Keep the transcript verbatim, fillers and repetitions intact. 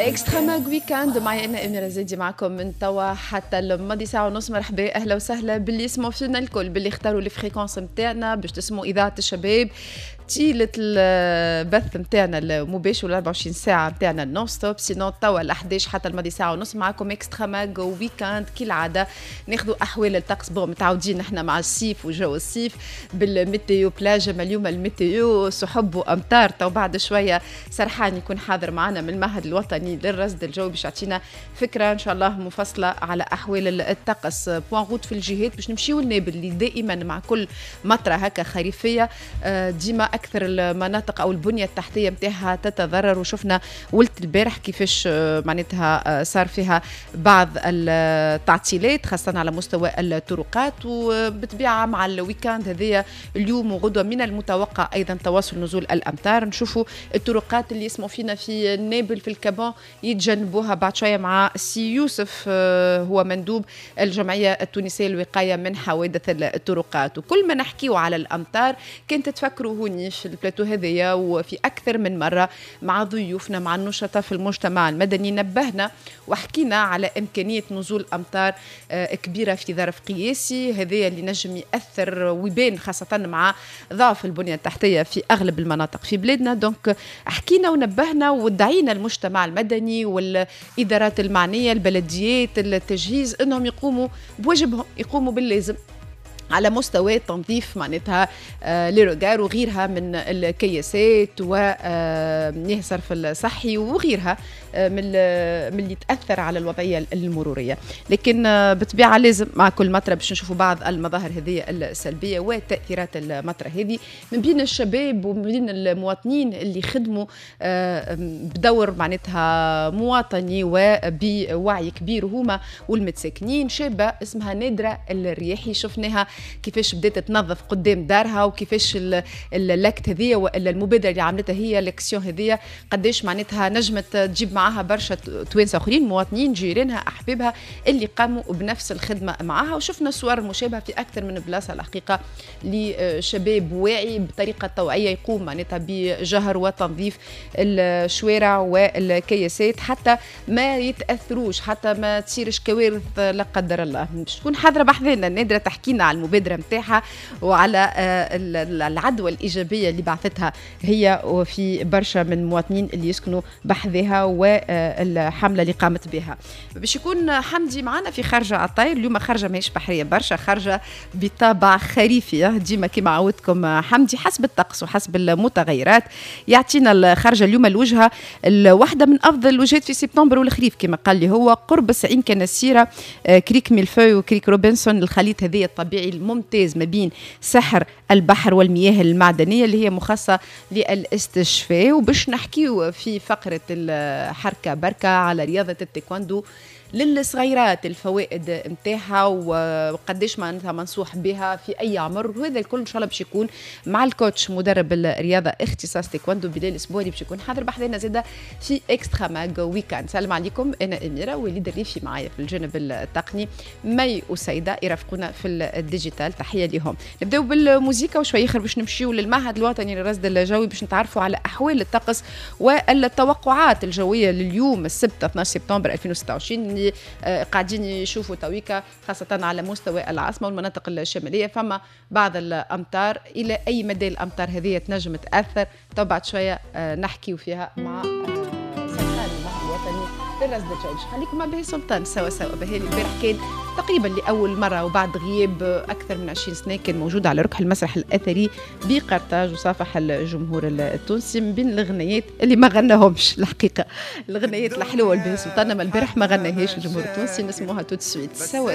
Extra Mag Week-end، معي انا اميره زيدي، معكم من توا حتى الماضي ساعة ونص. مرحبا، اهلا وسهلا باللي يسمعوا فينا الكل، باللي اختاروا les fréquences نتاعنا باش تسمعوا اذاعة الشباب طيلة البث نتاعنا المباشر وال أربعة وعشرين ساعة نتاعنا non-stop. sinon توا ال حداش حتى الماضي ساعة ونص معكم Extra Mag Week-end. كالعادة ناخذوا احوال الطقس. bon، متعودين نحن مع الصيف وجو الصيف بال météo plage، اما اليوم ال météo سحب وامطار. تو بعد شوية سرحان يكون حاضر معنا من المعهد الوطني للرصد الجوي باش يعطينا فكرة ان شاء الله مفصلة على احوال الطقس. point route في الجهات باش نمشيو لنابل، اللي دائما مع كل مطره هكا خريفيه آه، ديما اكثر المناطق او البنية التحتية نتاعها تتضرر، وشفنا ولت البارح كيفاش آه، معناتها آه، صار فيها بعض التعطيلات، خاصة على مستوى الطرقات. وبالطبيعه مع ال week-end هذايا اليوم وغدوه من المتوقع ايضا تواصل نزول الامطار. نشوفوا الطرقات اللي يسمعوا فينا في نابل، في الكابون، يتجنبوها بعد شوية مع سي يوسف، آه، هو مندوب الجمعية التونسية للوقايه من حوادث الطرقات. وكل ما نحكيو على الامطار، كنت تفكروا هوني في البلاتو هذايا وفي اكثر من مرة مع ضيوفنا، مع النشطاء في المجتمع المدني، نبهنا وحكينا على امكانية نزول امطار آه، كبيرة في ظرف قياسي، هذايا اللي نجم ياثر ويبان خاصة مع ضعف البنية التحتية في اغلب المناطق في بلادنا. donc حكينا ونبهنا ودعينا المجتمع المدني والادارات المعنيه، البلديات، التجهيز، انهم يقوموا بواجبهم، يقوموا باللازم على مستوى تنظيف معناتها آه، les regards وغيرها من الكياسات ومياه الصرف الصحي وغيرها آه، من من اللي تاثر على الوضعية المروريه. لكن آه، بالطبيعة لازم مع كل مطره باش نشوفوا بعض المظاهر هذه السلبية وتاثيرات المطره هذه. من بين الشباب ومن بين المواطنين اللي خدموا بدور معناتها مواطني وبوعي كبير هما والمتساكنين، شابه اسمها نادرة الرياحي، شفناها كيفاش بدات تنظف قدام دارها، وكيفاش l'acte هذيا والا المبادرة اللي عملتها هي، l'action هذيا، قداش معناتها نجمت تجيب معاها برشا توانسة اخرين، مواطنين، جيرانها، احبابها، اللي قاموا بنفس الخدمة معاها. وشفنا صور مشابهة في اكثر من بلاصة الحقيقة لشباب واعي بطريقة توعيه يقوم معناتها بجهر وتنظيف الشوارع والكياسات حتى ما يتاثروش، حتى ما تصيرش كوارث لا قدر الله. باش تكون حاضره بحذانا نادرة تحكينا على المبادرة نتاعها وعلى آه، العدوى الايجابية اللي بعثتها هي وفي برشا من المواطنين اللي يسكنوا بحذاها والحمله اللي قامت بها. باش يكون حمدي معنا في خرجه على الطاير. اليوم خرجه ماهيش بحرية برشا، خرجه بطابع خريفي. ديما كما عودتكم حمدي حسب الطقس وحسب المتغيرات يعطينا الخرجه. اليوم الوجهة واحدة من افضل الوجهات في سبتمبر والخريف كما قال لي هو، قرب عين كنسيره، آه، crique Mille-Feuilles و crique روبنسون، الخليط هذا الطبيعي الممتاز ما بين سحر البحر والمياه المعدنية اللي هي مخصصة للاستشفاء. وباش نحكيو في فقره الحركة بركة على رياضة التايكوندو للصغيرات، الفوائد نتاعها وقديش معناتها منصوح بها في اي عمر، وهذا الكل ان شاء الله باش يكون مع ال coach مدرب الرياضة اختصاص تايكوندو بلال الاسبوعي، باش يكون حاضر بحذانا زاده في Extra Mag Week-end. سلام عليكم، انا اميره، وليد الريفي معايا في الجانب التقني، مي وسيده يرافقونا في ال digital، تحية لهم. نبداو بالموسيقى وشوي اخر باش نمشيو للمعهد الوطني للرصد الجوي باش نتعرفوا على احوال الطقس والتوقعات الجوية لليوم السبت اثناش سبتمبر ألفين وستة وعشرين، اللي آه، قاعدين يشوفوا تويكا خاصة على مستوى العاصمة والمناطق الشمالية فما بعض الأمطار. إلى أي مدى الأمطار هذه تنجم تأثر؟ تو بعد شوية آه، نحكيو فيها مع آه، سلطان المعهد الوطني للرصد الجوي. خليكم مع بهي سلطان سوا سوا. بهي البارح كان تقريبا لاول مرة وبعد غياب اكثر من عشرين سنة كان موجود على ركح المسرح الاثري بقرطاج وصافح الجمهور التونسي. من بين الغنيات اللي ما غناهمش، الحقيقة الغنيات الحلوة البهي سلطان، ما البارح ما غناهاش الجمهور التونسي، نسموها tout de suite سوا سوا.